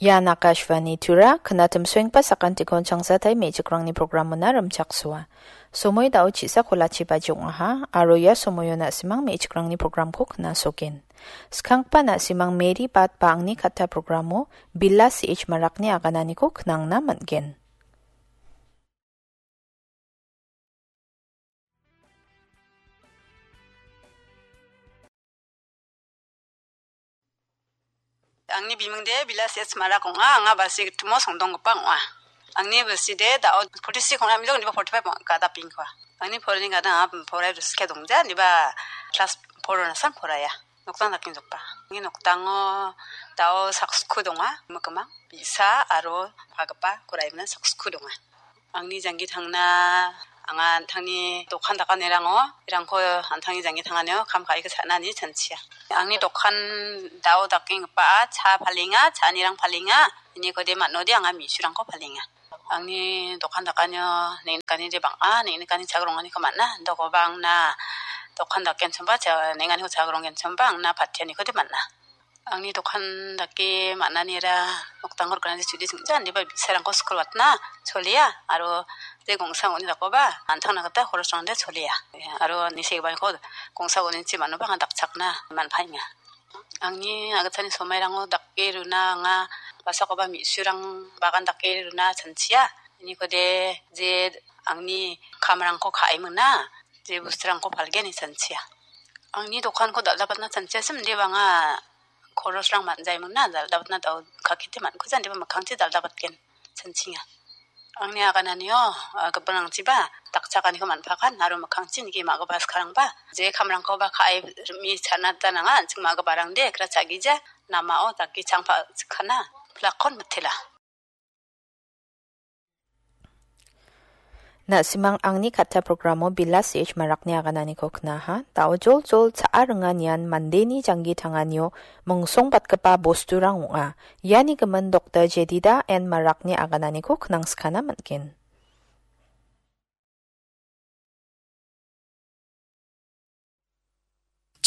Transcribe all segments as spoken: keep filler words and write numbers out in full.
Ian Akashvani Tura, knatim soengpa sakantikon changsatai me·chikrangni programona rimchaksoa. Somoi dao chisa kolachi baji ong·aha, aro ia somoio na·simang me·chikrangni programko knasogen. Skanggipa na·simang Mary Bat ba angni katta programo Bila C H Marakni agananiko knangna man·gen. Angni bimingde Bila C H Marak ong·a, anga Balsi gitimo songdonggipa ong·a. Angni bilside dao forty-six ong·a, milok niba forty-five ong·a, gada pingkua. Angni porani gada anga porai riske dongja, niba class four nasan poraya. Noktang dakengjokba. Angni noktango dao saksku donga, mikimang, bi·sa aro pagipa koraimna saksku donga. Angni janggi tangna, anga an·tangni dokan dakanirango, irangko an·tangni janggi tanganio kam ka·iko cha·nani chanchia. Angni dokan dao dakenggipa cha palenga, cha·anirang palenga, inikode man·ode anga me·surangko palenga. Angni dokan dakanio neng·nikani de bang·a, neng·nikani chagironganiko man·a, dokoba angna dokan dakenchimba, cha-, neng·aniko chagironggenchimba angna patianiko de man·a. Angni dokan dake man·anira nokdango riknani chudisingja, indiba bi·sarangko skul watna cholia, aro de gongsa uni dakoba an·tangna gita horosrangde cholia. Aro nisegiparangko gongsa uninchi man·oba anga dakchakna man·paenga. Angni agitani somairango dake runa anga basakoba me·surang bagan dake runa chanchia. Inikode je angni kamrangko ka·e mingna, je bosturangko palgen ine chanchia. Angni dokanko dal·dabatna chanchiasim, indiba anga Khorosrang man·jaimingna dal·dabatna dao kakete man·kuja, indiba mikkangchi dal·dabatgen, sanchinga. Angni agananio, ah, gipinrangchiba dakchakaniko man·pakan aro mikkangchi nike ma·gipa skarangba je kamrangkoba ka·e rim·e chanata nanga, an·ching ma·giparangde kra cha·gija, namao dake changpa chikkana plakkon mitela. Na·simang angni katta programo Bila C H Marakni agananiko knaha. Dao joljol cha·a ringanian mandeni janggi tanganio mongsongbatgipa bosturang ong·a. Iani gimin Doktor Jedida N Marakni agananiko knangskana man·gen.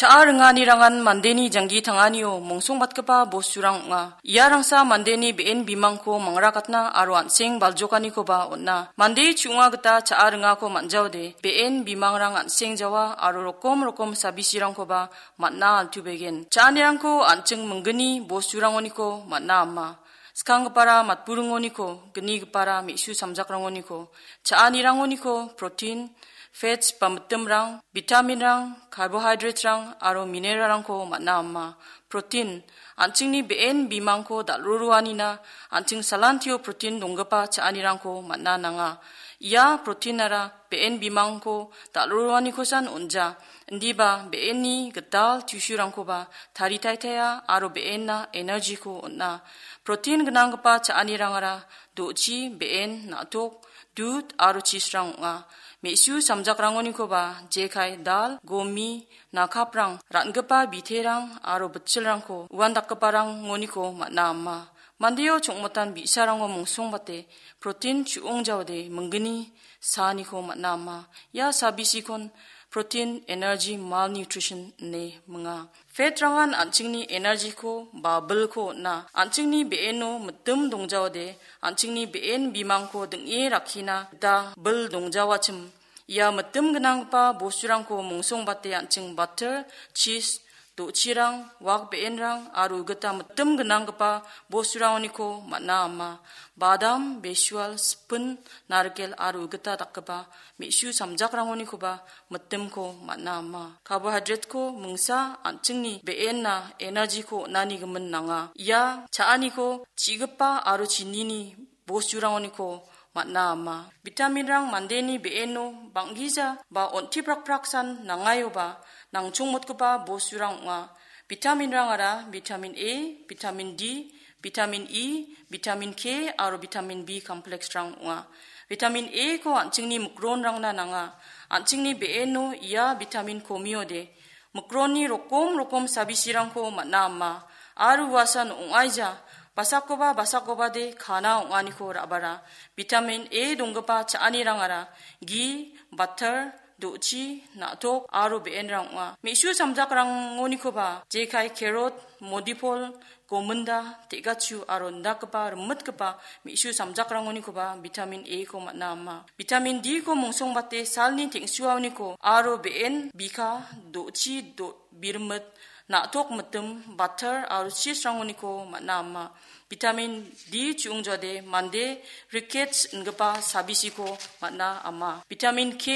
Cha·a ringanirangan mandeni janggi tanganio mongsongbatgipa bosturang ong·a. Iarangsa mandeni be·en bimangko mangrakatna aro an·seng baljokanikoba on·a. Mande chu·onga gita cha·a ringako man·jaode, be·en bimangrang an·seng jawa aro rokom rokom sabisirangkoba man·a, altubegen. Cha·anirangko an·ching minggni bosturangoniko man·a ama. Skanggipara matburingoniko, gnigipara me·su samjakrangoniko, cha·anirangoniko protein, fats ba mitimrang, vitaminrang, carbohydraterang aro mineralrangko man·a ama. Protein, an·chingni be·en bimangko dal·roroanina, an·ching salantio protein donggipa cha·anirangko man·a nanga. Ia proteinara be·en bimangko dal·roroanikosan on·ja, indiba be·enni gital tissue-rangkoba taritaitaia aro be·enna energy-ko on·a. Protein gnanggipa cha·anirangara do·chi, be·en, na·tok, dud aro cheese-rang ong·a. Me·su samjakrangonikoba jekai dal, gomi, nakaprang, ran·gipa biterang aro bitchilrangko uandakgiparangoniko man·a ama. Mandeo chongmotan bi·sarango mongsongbate protein chu·ong jaode minggni saaniko man·a ama. Ia sabisikon protein energy malnutrition ine minga. Fat-rangan an·chingni energy-ko ba bilko on·a. An·chingni be·eno mitim dongjaode, an·chingni be·en bimangko ding·e rakkina gita bil dongjawachim. Ia mitim gnanggipa bosturangko mongsongbate an·ching butter, cheese, do·chirang, wak be·enrang aro gita mitim gnanggipa bosturangoniko man·a ama. Badam, besual, sipin, narikel aro gita dakgipa me·su samjakrangonikoba mitimko man·a ama. Carbohydrate-ko mingsa an·chingni be·enna energy-ko on·ani gimin nanga. Ia cha·aniko chi·gipa aro chinini bosturangoniko man·a ama. Vitaminrang mandeni be·eno bang·gija ba on·tiprakpraksan nangaioba nangchongmotgipa bosturang ong·a. Vitaminrangara vitamin A, vitamin D, vitamin E, vitamin K aro vitamin B complex-rang ong·a. Vitamin A-ko an·chingni mikronrangna nanga. An·chingni be·eno ia vitamin komiode mikronni rokom rokom sabisirangko man·a ama. Aro uasan ong·aija, basakoba basakobade kana ong·aniko ra·bara. Vitamin A donggipa cha·anirangara gi, batar, do·chi, na·tok aro be·enrang ong·a. Me·su samjakrangonikoba jekai kerot, modipol, gominda, te·gachu aro indakgipa rimitgipa me·su samjakrangonikoba vitamin A-ko man·a ama. Vitamin D-ko mongsongbate salni teng·suaoniko aro be·en bika, do·chi, do-, birmit, na·tok mitim, batar aro cheese-rangoniko man·a ama. Vitamin D chu·ongjade mande rickets ingipa sabisiko man·a ama. Vitamin K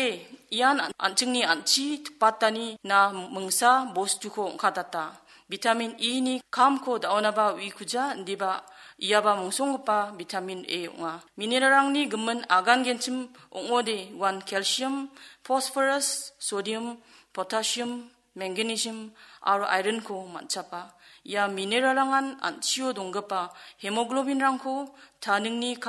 ian an-, an·chingni an·chi tipatani na mingsa bostuko ong·katata. Vitamin E-ni kamko da·onaba uikuja indiba iaba mongsonggipa vitamin A ong·a. Mineralrangni gimin agangenchim ong·ode uan calcium, phosphorus, sodium, potassium, magnesium aro iron-ko man·chapa. Ia mineralrangan an·chio donggipa hemoglobin-rangko taningni kam